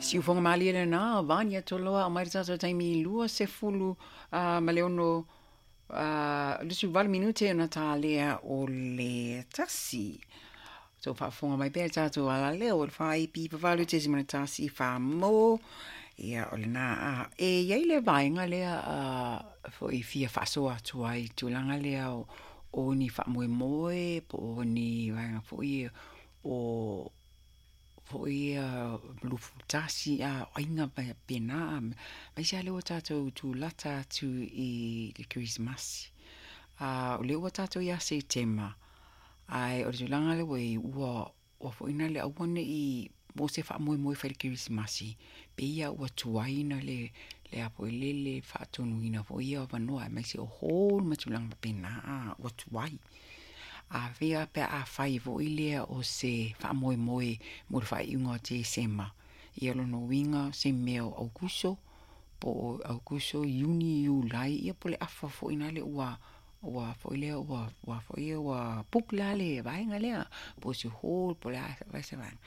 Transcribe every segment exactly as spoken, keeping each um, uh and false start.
Siufoga malie lena Vania Toloa o mai le tatou taimi lua sefulu uh, ma le ono uh, lusu valu minute ona talea o le tasi. So faafofoga mai pea le tatou alaleo o le fa iva valu tesima le tasi fa mo. Ia o lena a e iai le vaega lea uh, foi fia faasoa atu ai tulaga lea o, o ni faamoemoe po o ni vaega foi o foi ia lufu tasi a aiga pena mai se ale ua tatou tulata atu i le Kerisimasi. A o lea ua tatou ia Setema, ae o le tulaga lea ua i ua ua foi na le aua nei mo se faamoemoe fai le Kerisimasi pe ia ua tuai na le le a foi le le faatonuina foi ia avanoa aemaise o hall ma tulaga faapena a ua tuai. A fia pe a fai foi lea o se faamoemoe mo le faaiuga o Tesema. Ia lona uiga se mea o Aukuso po o Aukuso, Iuni, Iulai, ia po le afa foi na le ua ua foi lea ua ua foi ua book la le vaega lea po se hall po le a se vaega.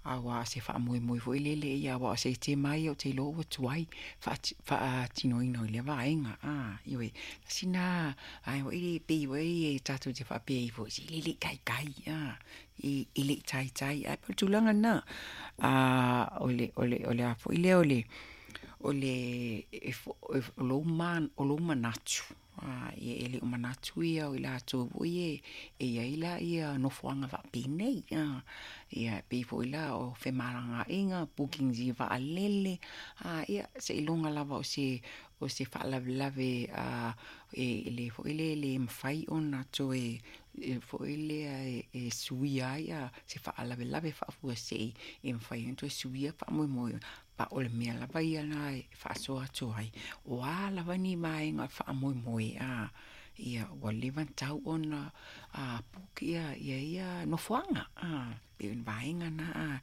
Aua se faamoemoe foi lele ia aua o Setema ia ou te iloa ua tuai faatinoina o lea vaega a ioe sina ai foi le pei foi e tatou te faapea ai foi se le le taitai a e e le taitai ae po o le tulaga lena a o le o le o le a foi lea o le o le e o lou man o lou manatu a e le o manatu ia o i latou foi e e iai la ia nofoaga faapenei a ia pei foi la o femalagaaiga bookings i vaalele a ia seiloga lava o se o se faalavelave a e le foi le le mafai ona toe e foi lea e, e suia ai a se faalavelave faafuasei e mafai ona toe suia faamoemoe pa o le mea lava ia na e faasoa atu ai o a lava ni vaega faamoemoe a ia ua leva ona tatau ona a book ia ia ia nofoaga a pe o ni vaega na a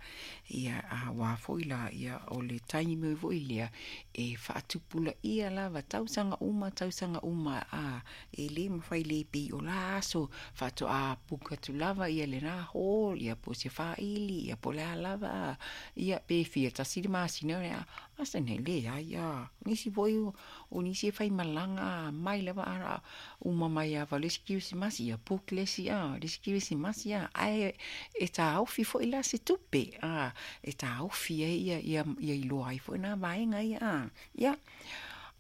ia a ua foi la ia o le taimi foi lea e faatupulaia lava tausaga uma tausaga uma a e lē mafai le pei o la aso faatoa book atu lava ia lena hall ia po o se faili ia po o le a lava a ia pe fia tasi le masina a asa nei leai a nisi foi o nisi e faimalaga mai lava a uma mai ava le isi Kerisimasi ia book le isi a le isi Kerisimasi a ae e taofi foi la se tupe a e taofi ai ia ia ia iloa ai foi na vaega ia a ia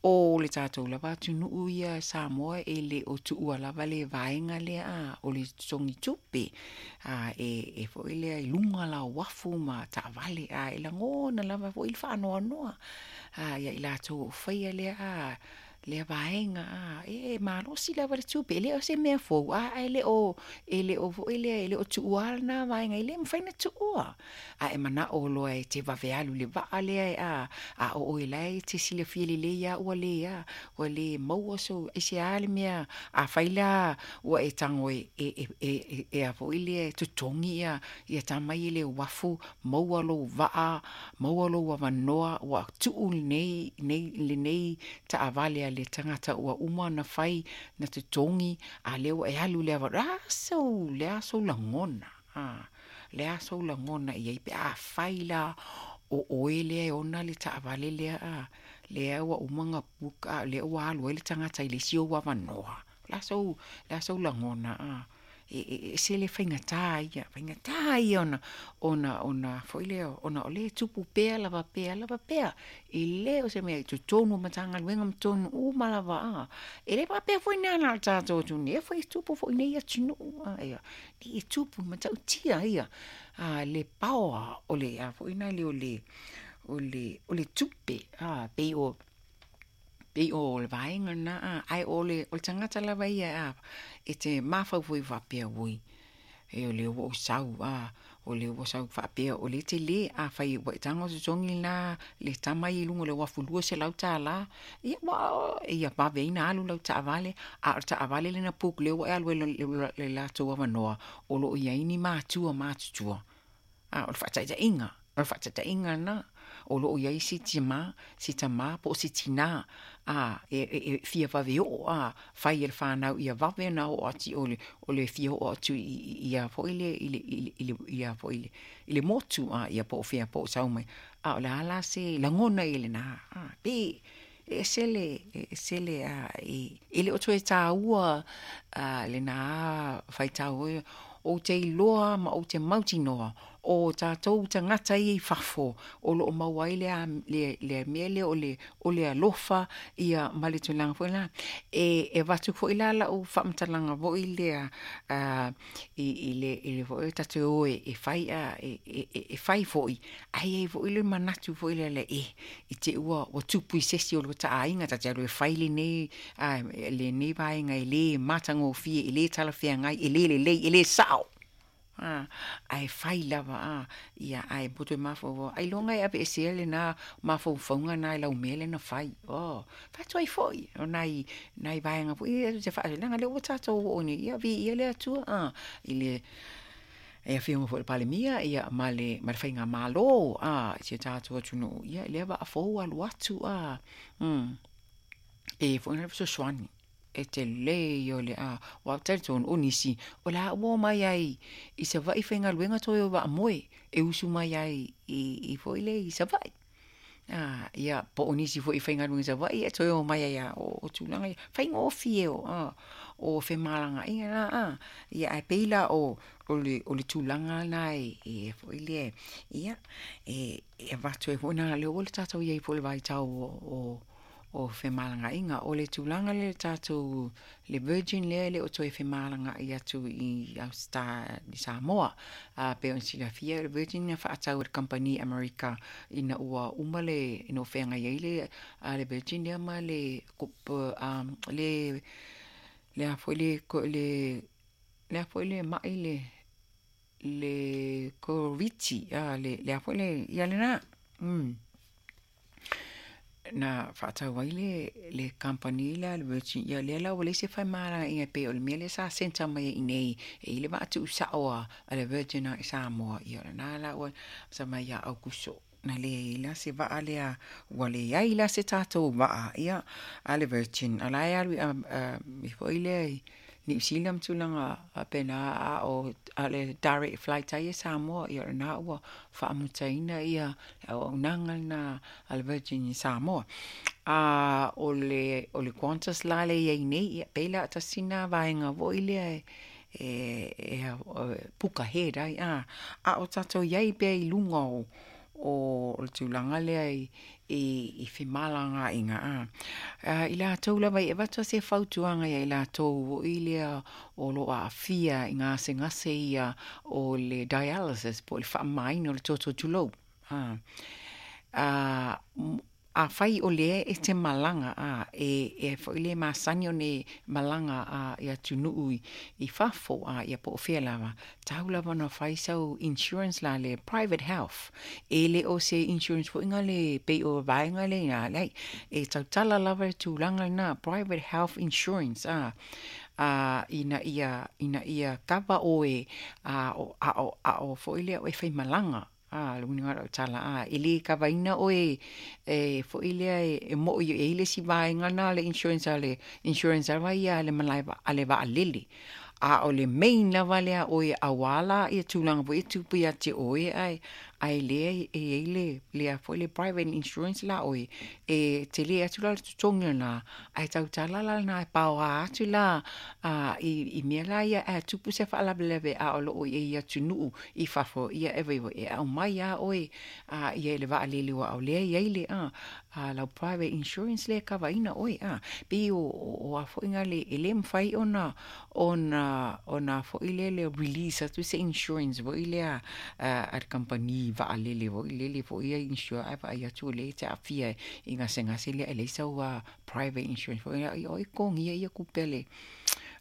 o le tatou lava atunuu ia Samoa e le o tuua lava le vaega lea a o le totogi tupe a e e foi lea i luga la o uafu ma taavale a e lagona lava foi le faanoanoa a ia i latou o faia lea a lea vaega a e malosi lava le tupe e le o se mea fou a e le o e le o foi lea e le o tuua lena vaega e le mafai ona tuua a e manao loa e te vave alu le vaa lea e a a o oe la e te silafia lelei a ua le a ua le maua so aisea le mea a fai la ua e tago e e e e e a foi lea e totogi ia ia tama ia le uafu maua lou vaa maua lou avanoa ua tuu lenei nei lenei taavale a le tagata ua uma ona fai na totogi a lea ua e alu le ava a sou le a sou lagona a le a sou lagona i ai pe a fai la o oe lea e ona le taavale lea a lea ua uma ona book a lea ua alu ai le tagata i le isi ou avanoa la sou la sou lagona a e e ese le faigata ia faigata ia ona ona ona foi lea ona o lea e tupu pea lava pea lava pea e le o se mea i totonu o Matagaluega ma totonu uma lava a e le faapea foi na na o le tatou atunuu e foi e tupu foi nei atunuu a ia e tupu matautia ia a le paoa o le a foi na le o le o le o le tupe a pei o pei o le vaega na a ae o le o le tagata lava ia a e te mafaufau faapea ui e o le ua ou sau a o le ua sau faapea o le tele a fai ua e tago totogi la le tama ia i luga o le uafu lua selau tala ia ua ia vave ai na alu lau taavale a o le taavale lena book lea ua e alu ai le latou avanoa o loo i ai ni matua matutua a o le faataitaiga. O le faataitaiga lena, o loo i ai se tima, se tamā po o se tinā a e, e, e fia vave oo a fai e le fanau ia vave ona oo atu o le, o le fia oo atu i, i, i a foi le, i le, i le, i le, i a foi le, i le motu a ia po o fea po o sau mai. A o le a la se lagona i lena a pe e ese le, e ese le a e, e le o toe tāua a lena faitau ou te iloa ma ou te mautinoa o tatou tagata ia i fafo o loo maua ai le, le, le mea lea o le, o le alofa ia ma le tulaga foi la e, e avatu foi la lau faamatalaga foi lea uh, i, i le, i le foi tatou o e, e fai a e, e, e, e fai foi ai ai foi le manatu foi lea le e i te ua ua tupu i se isi o lo taaiga ta te alu e fai lenei a lenei vaega e lē matagofie e lē talafeagai e lē lelei e lē sao a ae fai lava a ia ae poto e mafaufau ailoga e aveesea lena mafaufauga na e lau mea lea na fai o fai ai foi o nai nai vaega foi ia te faaleaga lea ua tatou oo nei ia viia le Atua a i le e afioga foi le Palemia ia ma le ma le faigamalo a i si o tatou atunuu ia lea vaafou alu atu a mm e foi na fesoasoani e tele ia o le a ua talitonu o nisi o le a ua omai ai i Savaii faigaluega toe o vaamoe e usu mai ai i, i foi le i Savaii a ia po o nisi foi faigaluega i Savaii e toe omai ai a o, o tulaga ia faigofie o a o femalagaaiga na a ia ae pei la o o le o le tulaga na e e foi le ia e e avatu ai foi na lea ua le tatou iai foi le vaitau o, o o femalagaaiga o le tulaga le tatou le Virgin lea e le o toe femalagaai atu i Austa i Samoa a pe ona silafia le Virgin na faatau e le kamupani Amerika ina ua uma le ina ua feagai ai le a le Virgin lea ma le um, le le a foi le le le a foi le mai le le Koviti a le le a foi le ia lena mm na faatau ai le le kamupani lea le Virgin ia lea la ua leai se femalagaaiga pei o le mea lea sa centre mai ai i nei e i le vaa tuusao a a le Virgin i Samoa ia o lena la ua sa mai ia Aukuso na leai la se vaa lea ua leai la se tatou vaa ia a le Virgin a la e alu i foi lea i Niu Sila ma tulaga faapena a o a le direct flight ai e Samoa ia o lena ua faamutaina ia le auaunaga lena a le Virgin i Samoa. A o le o le Qantas la le iai nei ia pei la tasi na vaega foi lea e e, e, e puka head ai a a o tatou iai pea i luga o o le tulaga lea i i, i femalagaaiga a. A i latou lava i avatu se fautuaga ia i latou i lea o loo aafia i gasegase ia o le dialysis po o le faamamaina o le toto tulou a. A afai o lea e te malaga a e e foi le masani ona e malaga a i atunuu i, i fafo a ia po o fea lava tau lava ona fai sau insurance la le private health e le o se insurance foi nga le pei o vaega le ina leai e tautala lava le tulaga lena private health insurance a a ina ia ina ia kava oe a o a o a o foi lea o e faimalaga a le uiga o lau tala a e lē kavaina oe e foi lea e, e mo'i e i le isi vaega na le insurance a le insurance lava ia a le malae a le vaalele a o le main lava lea oe auā la ia tulaga foi e tupu ia te oe ae ae lea e iai le lea foi le private insurance la oe e tele atu la le totogi lena ae tautala la lena e paoa atu la a i, i mea la ia ae tupu se faalavelave a o loo i ai atunuu i fafo ia e vai e aumai a oe a ia i le vaalele ua o lea iai le a a lau private insurance lea e kavaina oe a pei o o a foi nga le e le mafai ona ona ona foi lea le release atu se insurance foi lea a, a le kamupani vaalele foi lele foi ia insure ae vaai atu o lea e te aafia i gasegase lea e leai sau a private insurance foi lea ia oi togia ia tupe a le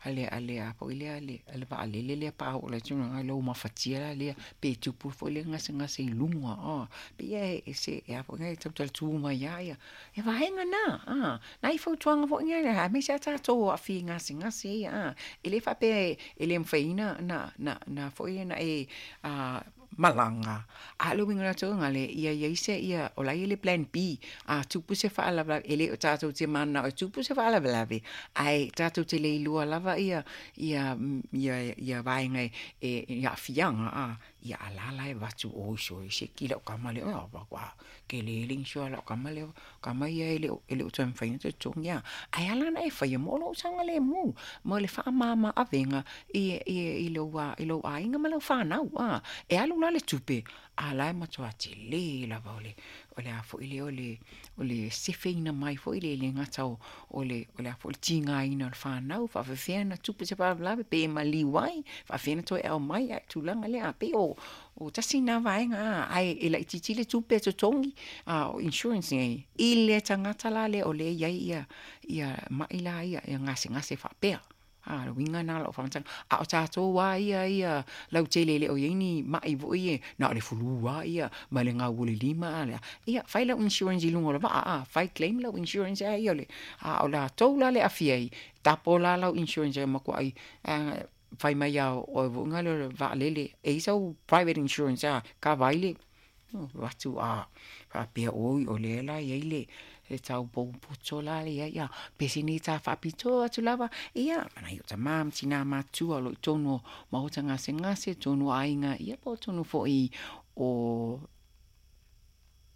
ale ale a foi lea ale ale vaalele lea pa oo le tulaga lou mafatia la lea pe tupu foi le gasegase i luga a pe ia e se e a foi e tautala tu mai ia ia e vaega na a nai fautuaga foi ia aemaise a tatou aafia i gasegase ia a e le faapea e le mafai na na na na foi na e a malaga, a le uiga o latou gale ia iai se ia o la ia le plan B. A tupu se faalavelave, e le o tatou te mananao e tupu se faalavelave, ae tatou te le iloa lava ia ia ia ia vaega e i aafiaga a ia alala e avatu oi sole seki lau kama lea ua tele le insure a lau kama lea kama ia e le o e le o toe mafai ona totogi a ae ala ona e faia mo lou saogalemu mo le faamama avega i i i lou i lou aiga ma lau fanau a e alu la le tupe a la e matua tele lava o le o le a foi lea o le o le sefeina mai foi le le gata o o le o le a foi le tigaina o le fanau faafefea ona tupu se faalavelave pe maliu ai faafefea ona toe aumai ae tulaga lea a pei o o tasi na vaega a ae e laitiiti le tupe e totogi a o insurance nei i le tagata la lea o lea e i ai ia ia ma'i la ia ia gasegase faapea. A le uiga lena o lau faamatalaga. A o tatou lava ia ia lautele e le o i ai ni ma'i foi ia na o le flu lava ia ma le gau o le lima a le a ia fai lau insurance i luga o le vaa a fai claim lau insurance a ia o le a o latou la le aafia ai tapo la lau insurance e matuai fai mai lava o oe foi lea o le vaalele e i ai sau private insurance a kava ai le avatu a faapea oi o lea la e i ai le le tau poupoto la le i ai a pe sini ta faapitoa atu lava ia ma nai o tamā ma tinā matutua o lo o i totonu o maota gasegase totonu o aiga ia po o totonu foi o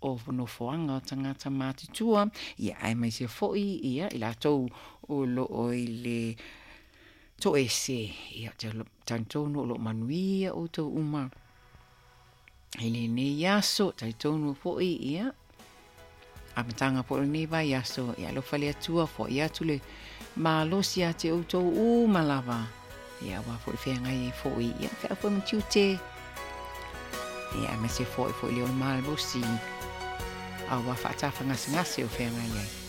o nofoaga o tagata matutua ia aemaise foi ia i latou o lo o i le toese ia ou te talitonu o lo o manuia outou uma i lenei aso talitonu foi ia amataga foi o lenei vaiaso ia alofa le Atua foai atu le malosi ia te outou uma lava ia aua foi le feagai ai foi ia feau foi ma tiute ia aemaise foi foi le o le malosi aua faatafagasegase o feagai ai.